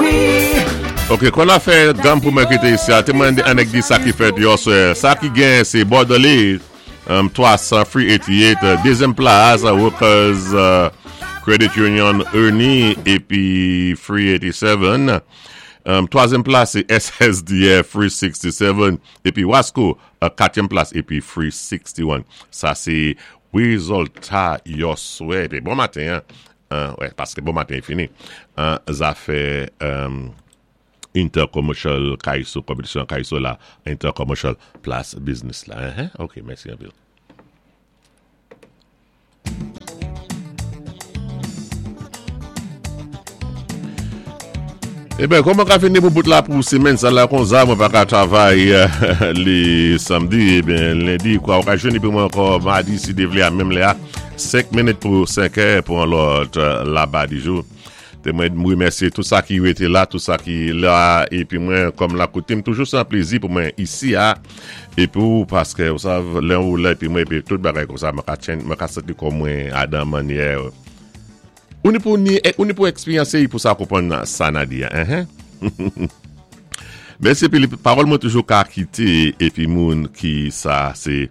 Wi. Ok, kon a fè gam pou mwen kité isi a, té mwen anèk di sa ki fèt yòswè. Sa ki gen sé Bordelais 300 388, dézyèm plas Workers Credit Union Ernie épi 387. Twazyèm plas sé SSDF 367 épi Wasco katyèm plas épi 361. Sa sé wézilta yòswè épi bon maten an, wè paské bon maten fini, zafè Intercommercial Kaiso, konpetisyon Kaiso la, Intercommercial Plas Biznis la. Ok, mèsi anpil. Eben, kòman ka fini pou bout la pou semèn sa la konsa, mwen pa ka travay li samdi, eben lendi kwa ou ka jwenn epi mwen ankò madi si Dye vle a menm lè a, 5 minit pou 5 è pou yon lòt laba di jou. Te mwen m remèsye tout sa ki rete la, tout sa ki la epi mwen kòm la kote m toujou se yon plezi pou mwen isi a epi ou paske ou sav lè ou la epi mwen epi tout bagay konsa mwen ka tchen mwen ka santi kò mwen adan mannyè Ou ni pou ni ou ni pou eksperyanse y pou sa konprann sa na di a enhen Mèsi epi li pawòl mwen toujou ka kite epi moun ki sa se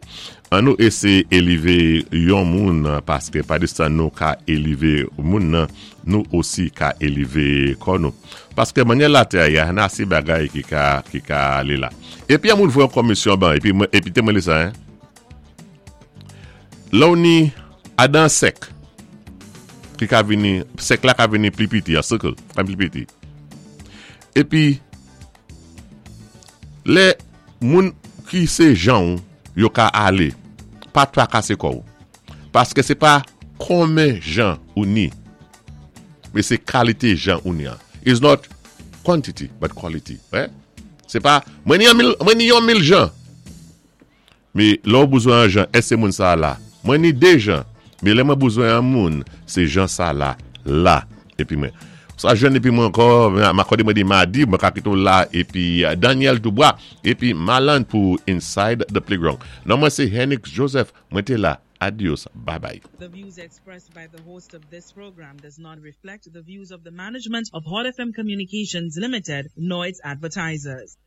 an nou eseye elive yon moun paske pa de sa nou ka elive moun nan nou osi ka elive kò nou paske manyè latè a ye a na se bagay ki ka ki ka ale la epi yon moun voye yon komisyon ban epi mwen epi te mwen li sa hein. Lè w ni adan sèk ki ka vini, sèk la ka vini pli piti, a circle, ka vini pli piti. Epi, lè moun ki se jan w, yo ka ale, pa trakase kò w. Paske se pa konmen jan ou ni, men se kalite jan ou ni an. It's not quantity, but quality. Se pa, mwen ni yon mil, mwen ni yon mil jan. Me lè w bouzwen an jan èske moun sa a la? Mwen ni de jan, me lè mwen bouzwen an moun, se jan sa la, la. Epi mwen. Sa jwenn epi mwen ankò, m akòde mwen di madi, mwen ka kite w la epi Daniel Dubois, epi Maland pou Inside the Playground. Non mwen se Hennix Joseph, mwen te la. Adios, babay. The views expressed by the host of this program does not reflect the views of the management of Hot FM Communications Limited nor its advertisers.